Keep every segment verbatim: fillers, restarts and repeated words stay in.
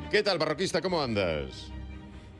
Que tal, barroquista, como andas?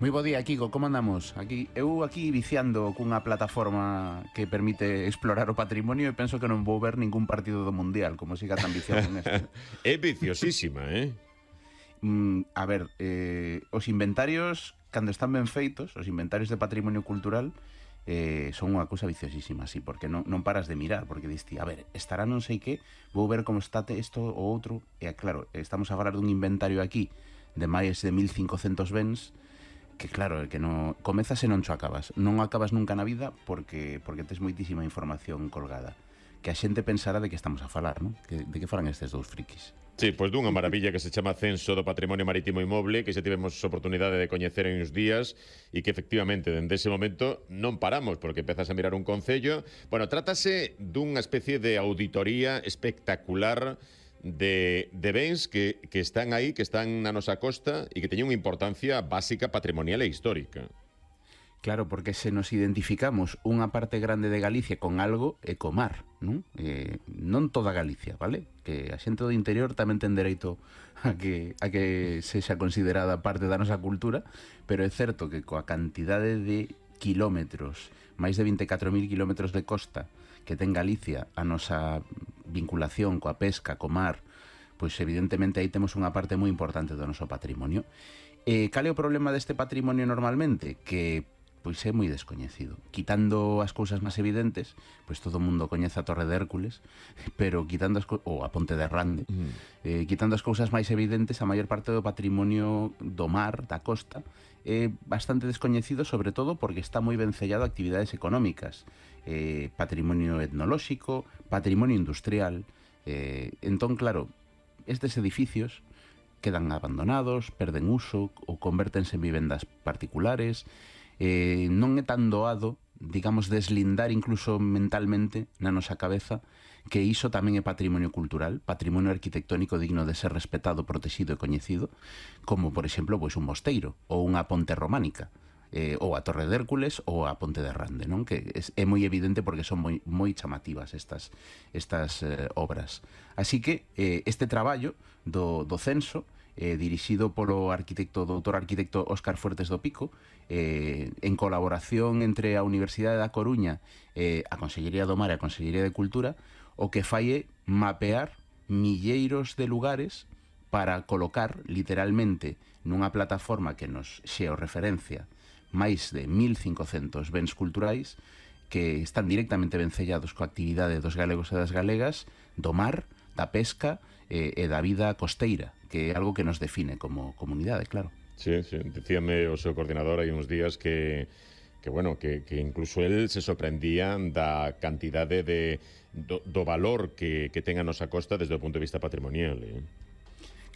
Moi bo día, Kiko, como andamos? Aquí, eu aquí viciando cunha plataforma que permite explorar o patrimonio e penso que non vou ver ningún partido do Mundial, como siga tan viciado en esto. É viciosísima, eh? Mm, a ver, eh, os inventarios, cando están ben feitos, os inventarios de patrimonio cultural, eh, son unha cousa viciosísima, sí, porque non, non paras de mirar, porque diste, a ver, estará non sei que, vou ver como está isto ou outro, e claro, estamos a falar dun inventario aquí de máis de mil cincocentos bens, que claro, que non comezas e non cho acabas. Non acabas nunca na vida porque porque tes moitísima información colgada. Que a xente pensara de que estamos a falar, non? Que, de que falan estes dous frikis. Sí, pois dunha maravilla que se chama Censo do Patrimonio Marítimo Inmoble, que xa tivemos oportunidade de coñecer en uns días e que efectivamente dende ese momento non paramos porque empezas a mirar un concello. Bueno, trátase dunha especie de auditoría espectacular de, de bens que, que están aí, que están na nosa costa e que teñen unha importancia básica, patrimonial e histórica. Claro, porque se nos identificamos unha parte grande de Galicia con algo é co mar, non? Eh, non toda Galicia, vale? Que a xente do interior tamén ten dereito a que, a que sexa considerada parte da nosa cultura, pero é certo que coa cantidade de kilómetros, máis de vinte e catro mil kilómetros de costa que ten Galicia, a nosa vinculación coa pesca, co mar, pois evidentemente aí temos unha parte moi importante do noso patrimonio. Eh, cal é o problema deste patrimonio normalmente? Que pois é moi descoñecido. Quitando as cousas máis evidentes, pois todo o mundo coñece a Torre de Hércules, pero quitando as ou a Ponte de Rande, mm. eh, quitando as cousas máis evidentes, a maior parte do patrimonio do mar, da costa, é bastante descoñecido, sobre todo porque está moi vencellado a actividades económicas, eh, patrimonio etnolóxico, patrimonio industrial. Eh, entón, claro, estes edificios quedan abandonados, perden uso ou convértense en vivendas particulares. Eh, non é tan doado, digamos, deslindar incluso mentalmente na nosa cabeza que iso tamén é patrimonio cultural, patrimonio arquitectónico digno de ser respetado, protegido e coñecido, como, por exemplo, pois un mosteiro ou unha ponte románica, eh, ou a Torre de Hércules ou a Ponte de Rande, non? Que é, é moi evidente porque son moi, moi chamativas estas, estas eh, obras. Así que eh, este traballo do, do censo, Eh, dirixido polo arquitecto, doutor arquitecto Óscar Fuertes do Pico, eh, en colaboración entre a Universidade da Coruña, eh, a Consellería do Mar e a Consellería de Cultura, o que fai é mapear milleiros de lugares para colocar, literalmente, nunha plataforma que nos xeorreferencia máis de mil cincocentos bens culturais que están directamente vencellados coa actividade dos galegos e das galegas, do mar, da pesca eh, e da vida costeira, que é algo que nos define como comunidade, claro. Sí, sí, dicíame o seu coordinador hai uns días que, que bueno, que, que incluso él se sorprendía da cantidade de, do, do valor que, que ten a nosa costa desde o punto de vista patrimonial, eh?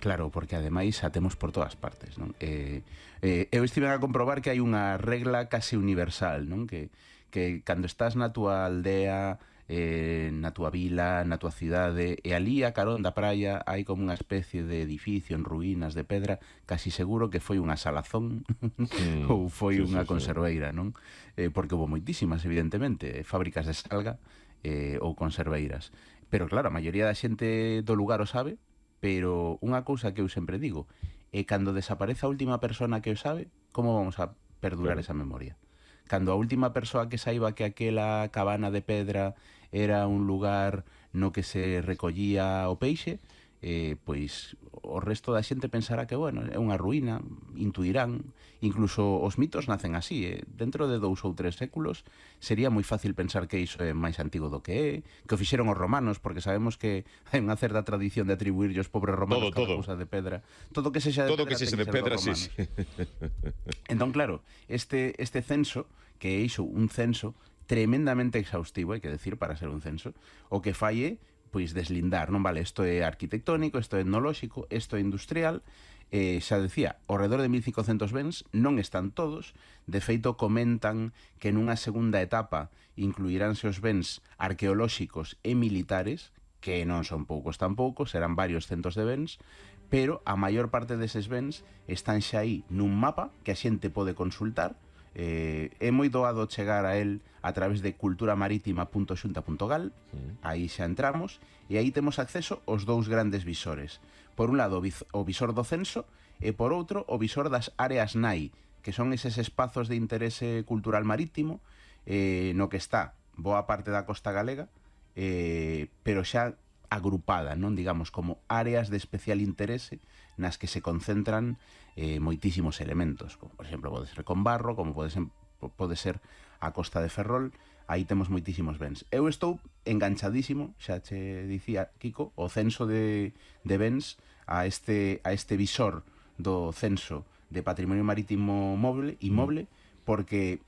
Claro, porque ademais a temos por todas partes, non? Eh, eh, eu estive a comprobar que hai unha regla case universal, non? Que, que cando estás na túa aldea, eh, na túa vila, na túa cidade, e ali a carón da praia hai como unha especie de edificio en ruínas de pedra, casi seguro que foi unha salazón mm, ou foi sí, unha sí, conserveira, non? Eh, porque houve moitísimas, evidentemente, fábricas de salga eh, ou conserveiras. Pero claro, a maioría da xente do lugar o sabe, pero unha cousa que eu sempre digo é cando desaparece a última persona que o sabe, como vamos a perdurar claro. Esa memoria? Cando a última persoa que saiba que aquela cabana de pedra era un lugar no que se recollía o peixe, eh, pois o resto da xente pensará que, bueno, é unha ruína, intuirán, incluso os mitos nacen así, eh? Dentro de dous ou tres séculos sería moi fácil pensar que iso é máis antigo do que é, que o fixeron os romanos, porque sabemos que hai unha certa tradición de atribuirlle os pobres romanos todo, todo. cousa de pedra. Todo que sexa de todo pedra, que sexa de pedra, sí, sí. Entón, claro, este, este censo, que é iso, un censo tremendamente exhaustivo, hai que decir, para ser un censo, o que fai é pois deslindar, non vale, isto é arquitectónico, isto é etnolóxico, isto é industrial, eh, xa decía, ao redor de mil cincocentos bens, non están todos, de feito comentan que nunha segunda etapa incluiránse os bens arqueolóxicos e militares, que non son poucos tampouco, serán varios centos de bens, pero a maior parte deses bens están xa aí nun mapa que a xente pode consultar. Eh, é moi doado chegar a él a través de culturamarítima punto xunta punto gal, sí. Aí xa entramos e aí temos acceso aos dous grandes visores, por un lado o visor do censo e por outro o visor das áreas N A I, que son eses espazos de interese cultural marítimo eh, no que está boa parte da costa galega, eh, pero xa agrupada, non, digamos, como áreas de especial interese nas que se concentran eh, moitísimos elementos, como por exemplo pode ser Combarro, como pode ser, pode ser a Costa de Ferrol. Aí temos moitísimos bens. Eu estou enganchadísimo, xa che dicía Kiko, o censo de, de bens a este, a este visor do censo de patrimonio marítimo moble, inmoble, porque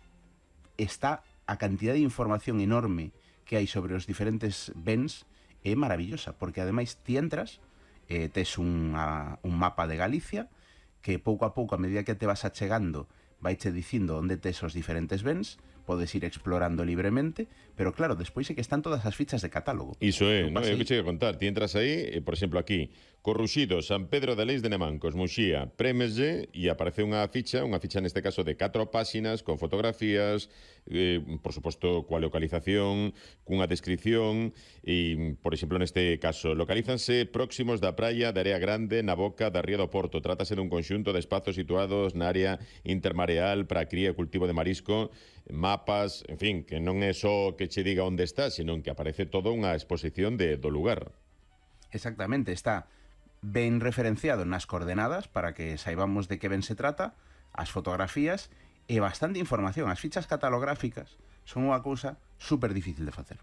está a cantidad de información enorme que hai sobre os diferentes bens é maravillosa, porque ademais ti entras, eh, tes unha, un mapa de Galicia que pouco a pouco, a medida que te vas achegando, vaiche dicindo onde tes os diferentes bens, podes ir explorando libremente, pero claro, despois é que están todas as fichas de catálogo. Iso é, non? É o que che a contar. Ti entras aí, e, por exemplo, aquí, Corruxido, San Pedro de Leis de Nemancos, Muxía, prémeslle e aparece unha ficha, unha ficha neste caso de catro páxinas, con fotografías, eh, por suposto, coa localización, cunha descripción, e, por exemplo, neste caso, localízanse próximos da praia de Area Grande na boca da Ría do Porto. Trátase dun conxunto de espazos situados na área intermareal para a cría e cultivo de marisco, mapas, en fin, que non é só que che diga onde está, senón que aparece toda unha exposición de, do lugar. Exactamente, está ben referenciado nas coordenadas para que saibamos de que ben se trata, as fotografías e bastante información. As fichas catalográficas son unha cousa super difícil de facer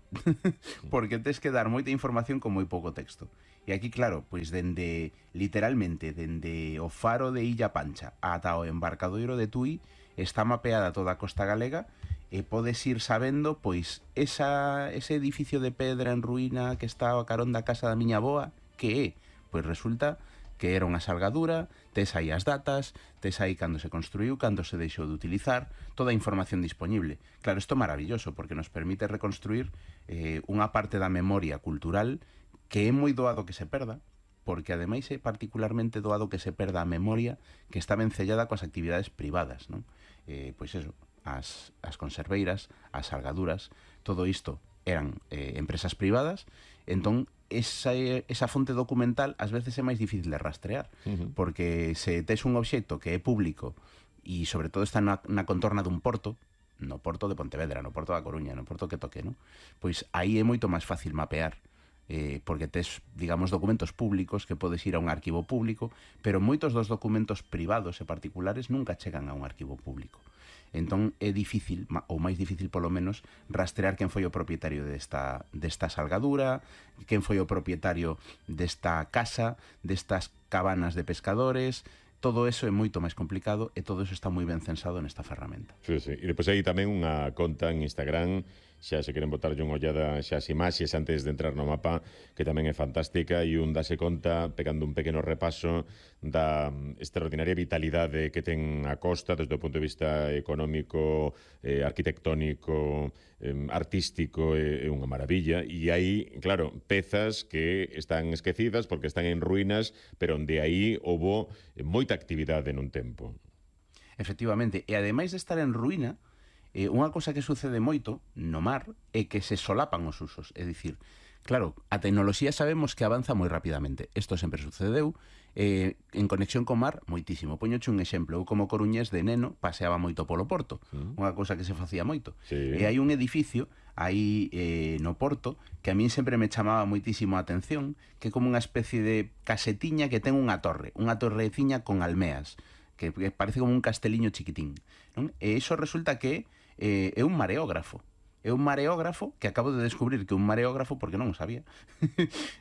porque tes que dar moita información con moi pouco texto. E aquí, claro, pois dende, literalmente, dende o faro de Illa Pancha ata o embarcadoiro de Tui está mapeada toda a costa galega e podes ir sabendo, pois, esa, ese edificio de pedra en ruína que está a carón da casa da miña boa, que é? Pois resulta que era unha salgadura, tes aí as datas, tes aí cando se construiu, cando se deixou de utilizar, toda a información disponible. Claro, isto é maravilloso, porque nos permite reconstruir eh, unha parte da memoria cultural que é moi doado que se perda, porque ademais é particularmente doado que se perda a memoria que está vencellada coas actividades privadas, non? Eh, pois eso, as, as conserveiras, as salgaduras, todo isto eran eh, empresas privadas, entón esa, esa fonte documental ás veces é máis difícil de rastrear, uh-huh. porque se tes un obxecto que é público e sobre todo está na, na contorna dun porto, no porto de Pontevedra, no porto da Coruña, no porto que toque, non? Pois aí é moito máis fácil mapear, eh, porque tes, digamos, documentos públicos que podes ir a un arquivo público, pero moitos dos documentos privados e particulares nunca chegan a un arquivo público. Entón é difícil, ou máis difícil polo menos, rastrear quen foi o propietario desta, desta salgadura, quen foi o propietario desta casa, destas cabanas de pescadores. Todo eso é moito máis complicado e todo eso está moi ben censado nesta ferramenta. Sí, sí. E depois hai tamén unha conta en Instagram, xa se queren botarlle unha ollada xa as imaxes antes de entrar no mapa, que tamén é fantástica, e un dase conta, pegando un pequeno repaso da extraordinaria vitalidade que ten a costa desde o punto de vista económico, eh, arquitectónico, eh, artístico, é eh, unha maravilla. E hai, claro, pezas que están esquecidas porque están en ruínas, pero onde aí houbo moita actividade nun tempo. Efectivamente, e ademais de estar en ruína, eh, unha cosa que sucede moito no mar é que se solapan os usos. É dicir, claro, a tecnoloxía sabemos que avanza moi rapidamente. Isto sempre sucedeu eh, en conexión co mar moitísimo. Poñoche un exemplo. Eu como coruñés de neno paseaba moito polo porto. Mm. Unha cousa que se facía moito. Sí. E hai un edificio aí eh, no porto que a min sempre me chamaba moitísimo a atención, que é como unha especie de casetiña que ten unha torre, unha torreciña con almeas, que parece como un casteliño chiquitín, non? E iso resulta que eh, é un mareógrafo. É un mareógrafo que acabo de descubrir que é un mareógrafo porque non o sabía.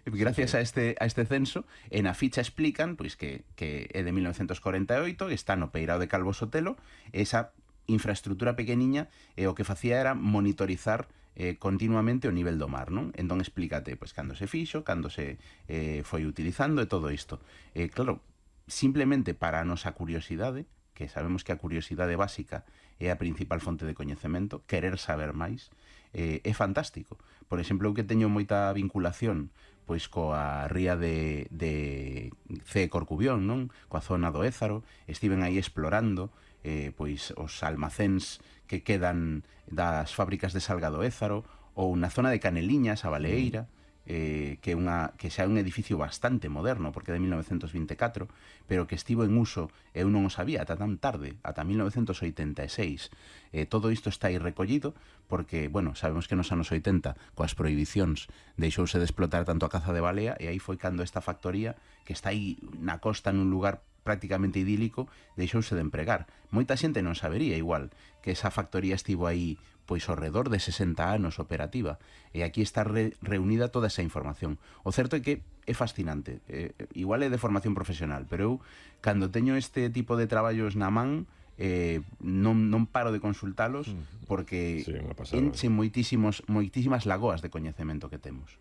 Gracias a este a este censo, en a ficha explican pois que que é de mil novecentos corenta e oito, está no Peirao de Calvo Sotelo, esa infraestructura pequeniña e o que facía era monitorizar eh, continuamente o nivel do mar, non? Entón explícate pois cando se fixo, cando se eh, foi utilizando e todo isto. Eh, claro, simplemente para a nosa curiosidade, que sabemos que a curiosidade básica é a principal fonte de coñecemento, querer saber máis, eh, é fantástico. Por exemplo, eu que teño moita vinculación pois coa ría de, de C. Corcubión, non? Coa zona do Ézaro, estiven aí explorando eh, pois os almacéns que quedan das fábricas de Salgado Ézaro, ou na zona de Caneliñas, a Baleeira, eh, que, unha, que xa é un edificio bastante moderno, porque é de mil novecentos vinte e catro, pero que estivo en uso, eu non o sabía ata tan tarde, ata mil novecentos oitenta e seis. Eh, todo isto está aí recollido, porque, bueno, sabemos que nos anos oitenta, coas prohibicións, deixouse de explotar tanto a caza de balea, e aí foi cando esta factoría, que está aí na costa nun lugar prácticamente idílico, deixouse de empregar. Moita xente non sabería igual que esa factoría estivo aí pois ao redor de sesenta anos operativa, e aquí está re, reunida toda esa información. O certo é que é fascinante, eh, igual é de formación profesional, pero eu, cando teño este tipo de traballos na man, eh, non, non paro de consultalos, porque sí, enchen moitísimos, moitísimas lagoas de coñecemento que temos.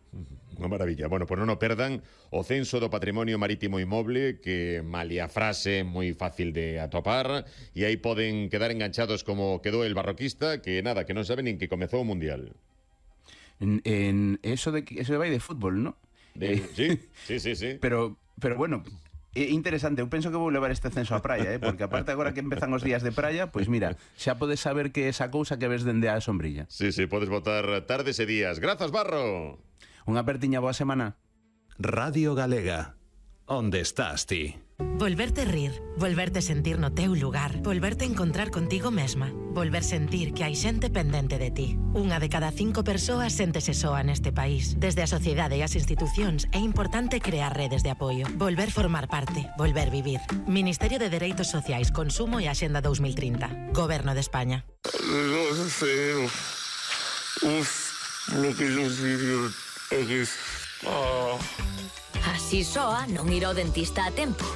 Unha maravilla. Bueno, pois non o perdan, o Censo do Patrimonio Marítimo Inmoble, que malia frase moi fácil de atopar, e aí poden quedar enganchados como quedou el barroquista, que nada, que non sabe nin que comezou o Mundial. En, en eso de eso vai de fútbol, ¿no? De, sí, sí, sí, sí. Pero, pero bueno, é interesante, eu penso que vou levar este censo á praia, eh? Porque aparte agora que empezan os días de praia, pois mira, xa podes saber que esa cousa que ves dende a sombrilla. Sí, sí, podes botar tardes e días. Grazas, Barro. Unha apertiña, boa semana. Radio Galega. Onde estás ti? Volverte rir, volverte sentir no teu lugar, volverte encontrar contigo mesma, volver sentir que hai xente pendente de ti. Unha de cada cinco persoas séntese soa neste país. Desde a sociedade e as institucións é importante crear redes de apoio, volver formar parte, volver vivir. Ministerio de Dereitos Sociais, Consumo e Axenda dos mil trinta. Goberno de España. No sé. Uf, lo que yo sigo es... Oh. Así soa non ir ao dentista a tempo.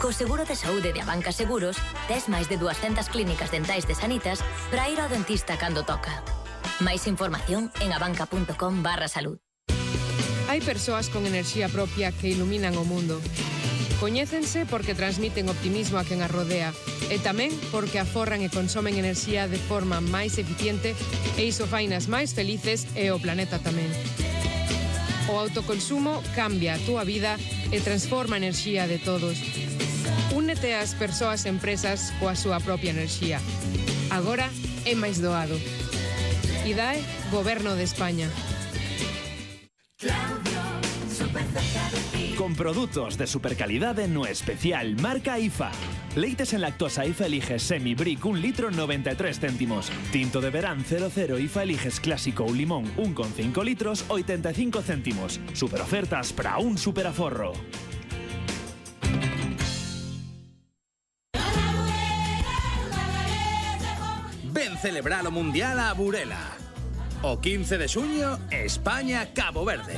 Co seguro de saúde de Abanca Seguros, tes máis de duascentas clínicas dentais de Sanitas para ir ao dentista cando toca. Máis información en abanca.com barra salud. Hai persoas con enerxía propia que iluminan o mundo. Coñécense porque transmiten optimismo a quen as rodea e tamén porque aforran e consomen enerxía de forma máis eficiente e iso fainas máis felices e o planeta tamén. O autoconsumo cambia a túa vida e transforma a enerxía de todos. Únete ás persoas e empresas coa súa propia enerxía. Agora é máis doado. I D A E, Goberno de España. Con produtos de supercalidade no especial marca I F A. Leites en lactosa I F A Eliges Semi Brick un litro noventa e tres céntimos. Tinto de verán cero cero I F A Eliges Clásico ou Limón un coma cinco litros oitenta e cinco céntimos. Super ofertas para un superaforro. Ven celebrar o Mundial a Burela. O quince de xuño, España-Cabo Verde.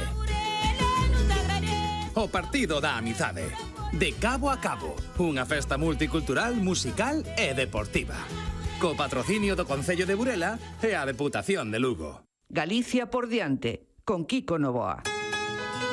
O partido da amizade. De cabo a cabo, unha festa multicultural, musical e deportiva. Co patrocinio do Concello de Burela e a Deputación de Lugo. Galicia por diante, con Kiko Novoa.